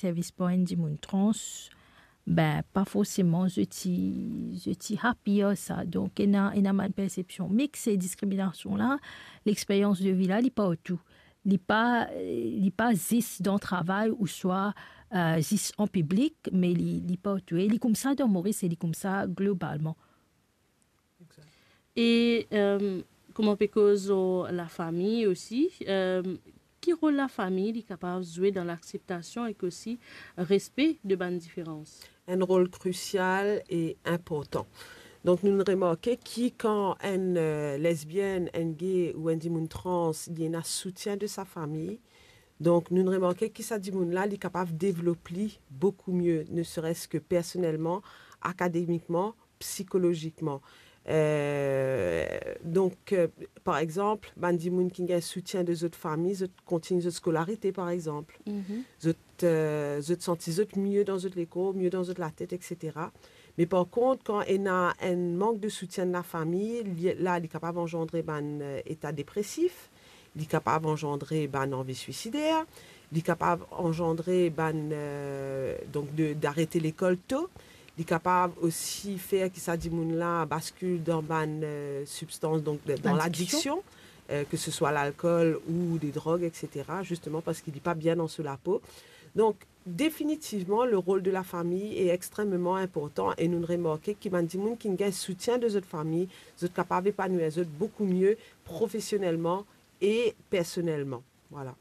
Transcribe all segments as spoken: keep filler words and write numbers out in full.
servis par enn dimoun trans, ben, pa forseman zot ti, zot ti happy ar sa. Donk, ena, ena bann persepsion mix, se diskriminasion la, lexperyans de vi la, li partou. Li pa, li pa zis dan travay ouswa, eh, zis an piblik, me li, li partou. E li koumsa dan Moris e li koumsa globalman. Exact. E, eh, kouma pe koz lor lafami osi, eh, ki rol lafami li kapav zwe dan lakseptasion ek osi respe de bann diferans? Enn rol krisial e inportan. Donk, nou remarke ki kan enn, eh, lesbienn, enn gay ou enn dimoun trans, li ena soutien de sa fami, donk, nou remarke ki sa dimoun la, li kapav devlop li boukou mie, ne serait-ce que personelman, akademikman, psikolozikman. Eh, donk, eh, par exanp, bann dimoun ki gagn soutien de zot fami, zot kontign zot skolarite, par exanp. Mhm. Zot, eh, zot santi zot mie dan zot lekor, mie dan zot latet, et cetera. Me par kont, kan ena enn mank de soutien de lafami, li, la, li kapav anzandre bann, eh, eta depresif, li kapav anzandre bann anvi swisider, li kapav anzandre bann, eh, donk de, d'arete lekol to, li kapav osi fer ki sa dimoun la baskil dan bann, eh, sibstans, donk de, dan ladiksion, eh, ke se swa lalkol ou de drog, et cetera, zisteman parski li pa bien dan so lapo. Donk, definitivman, le rol de lafami e extrememan inportan e nou remarke ki bann dimoun ki gagn soutien de zot fami, zot kapav epanwir zot boukou mie profesionelman e personelman. Vwala.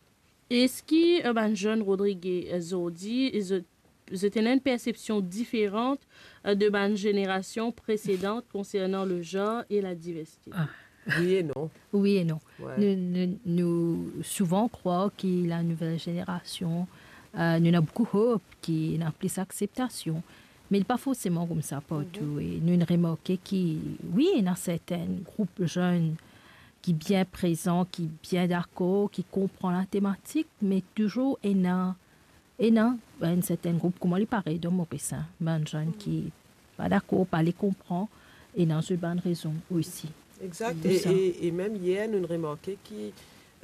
Eski, eh, bann zenn Rodrige, eh, zordi, zot, zot ena enn persepsion diferan, eh, de bann zenerasion presedan konsernan le zanr e ladiversite? Ah. Wi e non. Wi e non. Wi. Nou, nou, nou souvan krwar ki la nouvel zenerasion, eh, nou ena boukou hop, ki ena plis akseptasion. Me li pa forseman koumsa partou. Mhm. E nou remarke ki, wi, ena sertin group zenn ki bien prezan, ki bien dakor, ki konpran latematik, me touzour ena, ena enn sertin group, kouma li parey dan Moris, bann zenn ki pa dakor, pa le konpran, ena zot bann rezon osi. Exact. E, e, e mem yer, nou remarke ki,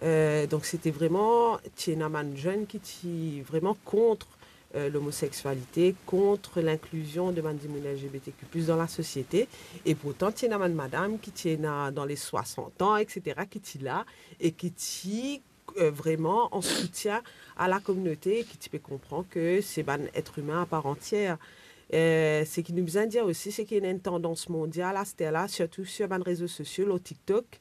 eh, donk, sete vreman, ti ena bann zenn ki ti vreman kont, eh, lomoseksialite, kont linklizion de bann dimoun L G B T Q plus dan lasosiete. E pourtan, ti ena bann madam ki ti ena dan le swasant an, et cetera, ki ti la e ki ti, eh, vreman an soutien a lakominote, ki ti pe konpran ke se bann et imin a par antier. Eh, seki nou bizin dir osi, seki ena enn tandans mondial aster la, sirtou sir bann rezo sosio, lor TikTok,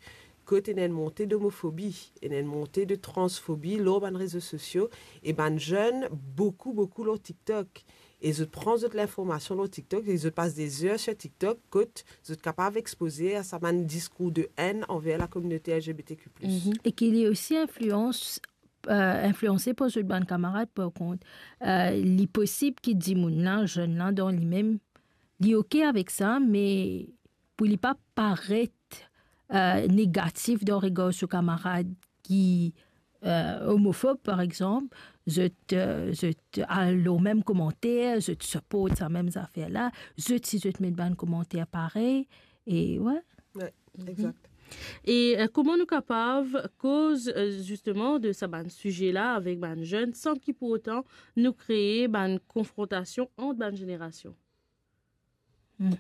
kot ena enn monte domofobi, ena enn monte de transfobi lor bann rezo sosio, e bann zenn, boukou, boukou lor TikTok. E zot pran zot linformasion lor TikTok, e zot pas de zer sir TikTok, kot zot kapav expoze a sa bann diskour de enn anver lakominote L G B T Q plus. Mhm. E ki li osi inflians, eh, inflianse par zot bann kamarad, par kont. Eh, li posib ki dimoun la, zenn la, dan limem, li oke avek sa, me pou li pa paret, eh, negatif dan regar so kamarad ki, eh, omofob, par exanp, zot, eh, zot al lor mem komanter, zot siport sa mem zafer la, zot si zot met bann komanter parey, e, wi. Wi, mhm, exact. E, eh, kouma nou kapav koz, eh, zisteman de sa bann size la avek bann zenn san ki pourtan nou kree bann konfrontasion ant bann zenerasion? Hmm.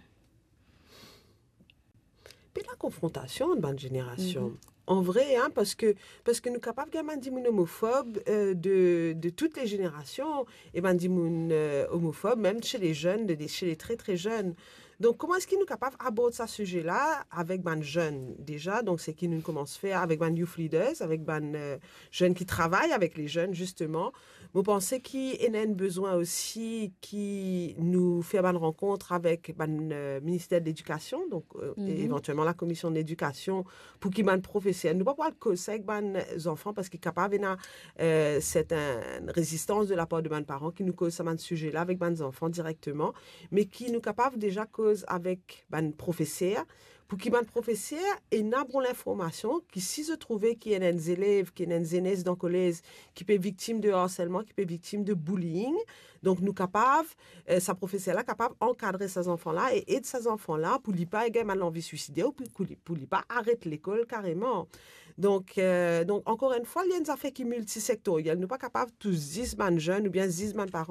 Pena konfrontasion ant bann zenerasion. Mhm. An vre, hein, parski, parski nou kapav gagn bann dimoun omofob, eh, de, de tout le zenerasion, e bann dimoun, eh, omofob, mem se le zenn, de, de, se le tre, tre zenn. Donk, kouma eski nou kapav abord sa size la avek bann zenn deza? Donk, seki nou koumans fer avek bann youth leaders, avek bann, eh, zenn ki travay avek le zenn, zisteman. Mo panse ki ena enn bizin osi ki nou fer bann rankont avek bann, eh, Minister de Ledikasion, donk, eh, mhm, e evantielman Lakomision de Ledikasion, pou ki bann profeser, nou pa pou al koz sa avek bann zanfan, parski kapav ena, eh, sertin rezistans de lapar de bann paran ki nou koz sa bann size la avek bann zanfan direkteman, me ki nou kapav deza koz avek bann profeser, pou ki bann profeser ena bon linformasion, ki si zot trouve ki ena enn zelev, ki ena enn zenes dan kolez, ki pe viktim de harselman, ki pe viktim de bullying, donk nou kapav, eh, sa profeser la kapav ankadre sa zanfan la e ed sa zanfan la pou li pa gagn bann lanvi swiside ou pou, pou li, pou li pa aret lekol kareman. Donk, eh, donk, ankor enn fwa, li enn zafer ki miltisektoriel. Nou pa kapav tous zis bann zenn oubien zis bann paran